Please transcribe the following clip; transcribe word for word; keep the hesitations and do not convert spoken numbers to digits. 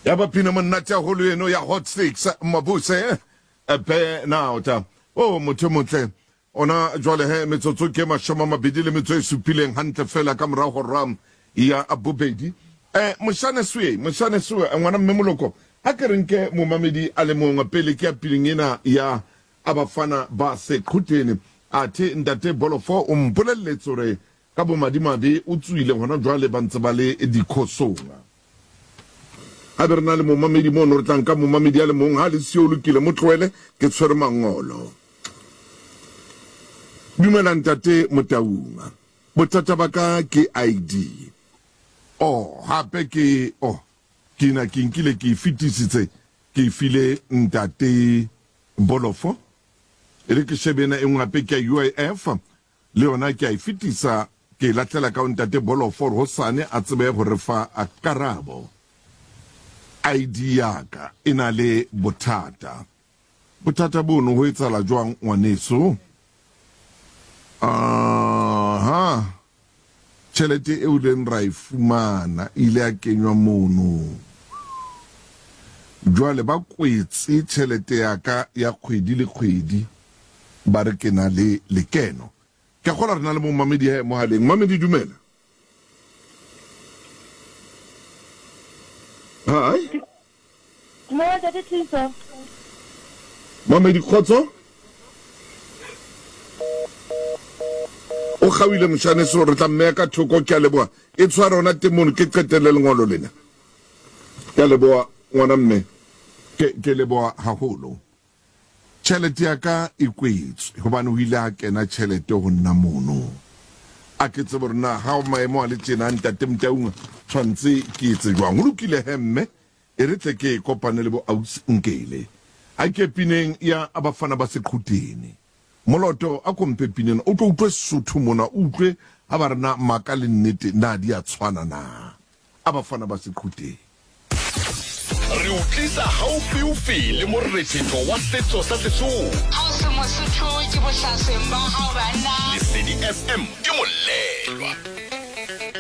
Ya ba pina monate haholo eno ya Hot Six Mabuse Burnout. O motho motle ona jwale he metsotso ke mashome a mabedi le metso e supileng hantle fela ka morao hora ya bobedi. Eh moshane swe moshane swe ngwana mme Moloko ha ke re nke momamedi a le mongwe pele ke ya pileng ena ya abafana ba Seqhuteni. Athe ntate Bolofo o mpolelletse hore ka bomadimabe o tswile hona jwale ba ntse ba le dikhosong. Ha be re na le momamedi mono re tla nka momamedi a le mong ha le siyo lokile mo tlohele ke tshwere mangolo. Dumela ntate Motaung. Bothata ba ka ke I D. Oh hape ke oh ke na ke nkile ke fetisitse ke file ntate Bolofo. E re ke shebe ena e nngwe hape ke ya U I F le yona ke a e fetisa ke lahlela ka ntate Bolofo hore hosane a tsebe ho re fa a karabo. I D ya ka e na le bothata. Bothata bono ho etsahala jwang ngwaneso? Aha. Tjhelete eo leng ra e fumana ile ya kenywa mono. Jwale ba kwetse tjhelete ya ka ya kgwedi le kgwedi ba re ke na le lekeno. Ke a kgolwa re na le momamedi he mohaleng. Mamedi dumela. Hi. Dumela ntate Thuso. Mamedi kgotso. O kgawile moshane so re tla mmeya ka thoko ke a leboha. E tshware hona teng mono ke qetelle lengolo lena. Ke a leboha ngwana mme. Ke ke leboha haholo. Tjhelete ya ka e kwetswe hobane ho ile ha kena tjhelete ho nna mono. A ke tsebe hore na ha maemo a le tjena ntate Motaung tshwantse ke etse jwang. Ho lokile he mme e re tle ke kopane le bo ausi Nkele. Ha ke pineng ya abafana ba Seqhuteni. Moloto a kompe pineng o tlo utlwe Sesotho mona o utlwe ha ba re na maka le nnete na di a tshwana na. Abafana ba Seqhuteni. Re o tlisa haufiufi le morethetho wa setso sa Sesotho. Ha o se Mosotho ke bohlasweng ba hao banna. Lesedi F M ke molelwa.